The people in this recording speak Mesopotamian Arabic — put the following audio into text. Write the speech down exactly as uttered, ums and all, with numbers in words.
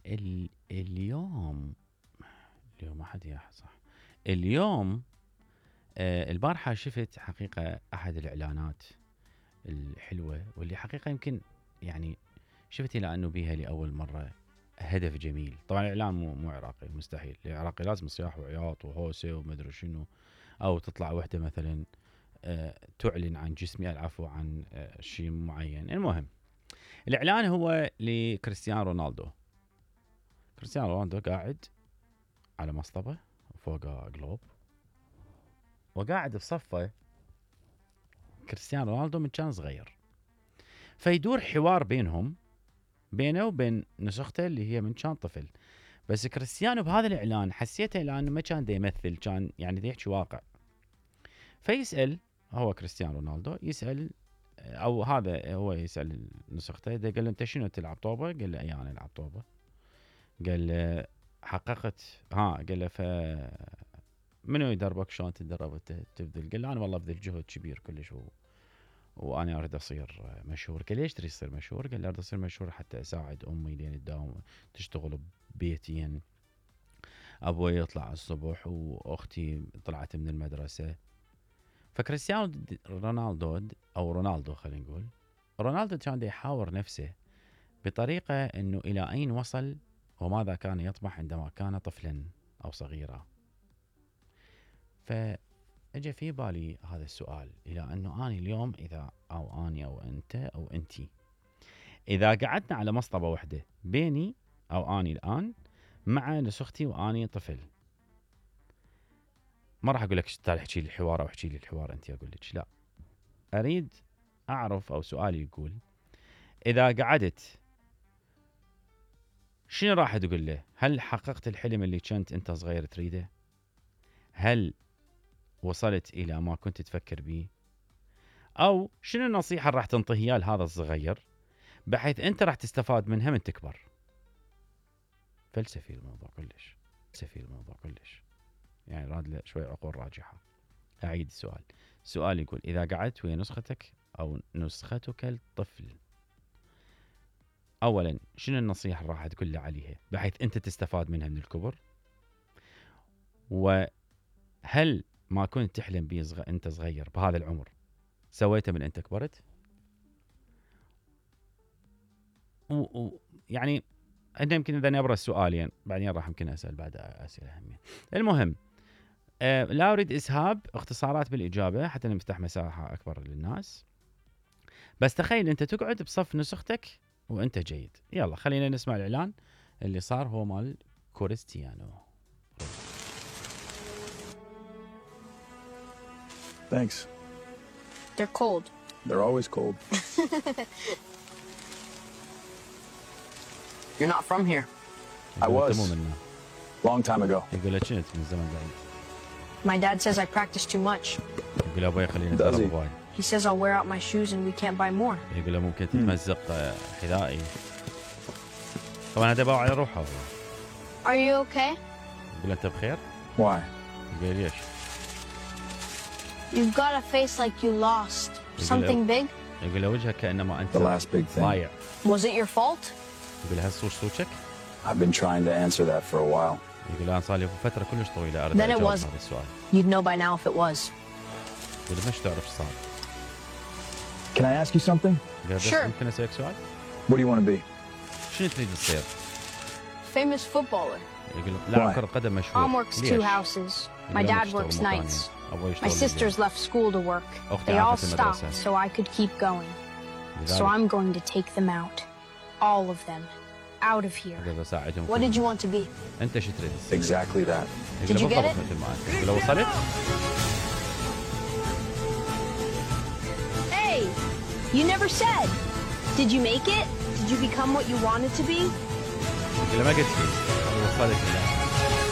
ال... اليوم اليوم ما حد ياح صح. اليوم آه البارحة شفت حقيقة أحد الإعلانات الحلوة واللي حقيقة يمكن يعني شفت إلى أنه بيها لأول مرة هدف جميل. طبعا الإعلان مو مو عراقي، مستحيل. العراقي لازم صياح وعياط وهوسة ومدري شنو، أو تطلع وحدة مثلا آه تعلن عن جسمي العفو عن آه شيء معين. المهم الإعلان هو لكريستيانو رونالدو. كريستيانو رونالدو قاعد على مصطبة وفوقه جلوب، وقاعد بصفه كريستيانو رونالدو من كان صغير، فيدور حوار بينهم بينه وبين نسخته اللي هي من كان طفل. بس كريستيانو بهذا الإعلان حسيته لأنه ما كان دا يمثل، كان يعني دا يحكي واقع. فيسأل هو كريستيانو رونالدو يسأل، أو هذا هو يسأل نسخته، دا قال له أنت شنو تلعب طوبة؟ قال له أي أنا ألعب طوبة. قال له حققت ها قال له ف منو يدربك شلون تدرب تبذل؟ قال له انا والله ابذل جهد كبير كلش و... وانا اريد اصير مشهور. قال ليش تريد تصير مشهور؟ قال له اريد اصير مشهور حتى اساعد امي لين تداوم تشتغل ببيتين، ابوي يطلع الصبح واختي طلعت من المدرسه. فكريستيانو رونالدو او رونالدو خلينا نقول رونالدو كان يحاور نفسه بطريقه انه الى اين وصل وماذا كان يطمح عندما كان طفلا او صغيرا. فاجى في بالي هذا السؤال، الى انه اني اليوم اذا او اني او انت او انتي اذا قعدنا على مصطبه واحده بيني او اني الان مع نسختي واني طفل، ما راح اقول لك تعال احكي لي الحوار او احكي لي الحوار انت، اقول لك لا، اريد اعرف او سؤالي يقول اذا قعدت شنو راح تقول له؟ هل حققت الحلم اللي كنت انت صغير تريده؟ هل وصلت الى ما كنت تفكر به؟ او شنو النصيحه اللي راح تنطيها لهذا الصغير بحيث انت راح تستفاد منها من تكبر؟ فلسفي الموضوع كلش، فلسفي الموضوع كلش، يعني راد له شوي عقول راجحه. اعيد السؤال، السؤال يقول اذا قعدت ويا نسختك او نسختك الطفل، اولا شنو النصيحه اللي راح تقول له عليها بحيث انت تستفاد منها من الكبر؟ وهل ما كنت تحلم به صغ... انت صغير بهذا العمر سويته من انت كبرت؟ و... و... يعني انا يمكن اذا نبرز سؤالين بعدين راح يمكن اسال بعد اسئله همين. المهم أه لا اريد اسهاب اختصارات بالاجابه حتى نفتح مساحه اكبر للناس، بس تخيل انت تقعد بصف نسختك وانت جيد. يلا خلينا نسمع الاعلان اللي صار، هو مال كريستيانو. Thanks. They're cold. They're always cold. You're not from here. I was. Long time ago. يقول لك انت من زمن بعيد. My dad says I practice too much. يقول ابوي خليني اتدرب هواي. He says I'll wear out my shoes and we can't buy more. يقول له ممكن تتمزق حذائي. طبعا هذا باع على روحه. Are you okay? يقول انت بخير؟ Why? يقول ليش؟ You've got a face like you lost something big. يقول له وجهك كأنما أنت The last big thing. ضايع. Was it your fault? يقول له هل صوش صوتك؟ I've been trying to answer that for a while. يقول له أنا صار لي فترة كلش طويلة أريد Then it أجاوب was. هذا السؤال. You'd know by now if it was. يقول له مش تعرف صار. Can I ask you something? Sure. ممكن أسألك سؤال؟ What do you want to be? شنو تريد تصير؟ Famous footballer. يقول له لاعب كرة قدم مشهور. Mom works two houses. My dad works nights. My sisters left school to work. They all stopped so I could keep going. So I'm going to take them out. All of them. Out of here. What did you want to be? أنت شو تريد تصير؟ Exactly that. Did you get it? مثل ما أنت. يقول له وصلت؟ Hey, you never said. Did you make it? Did you become what you wanted to be? يقول له ما قلت لي. وصلت.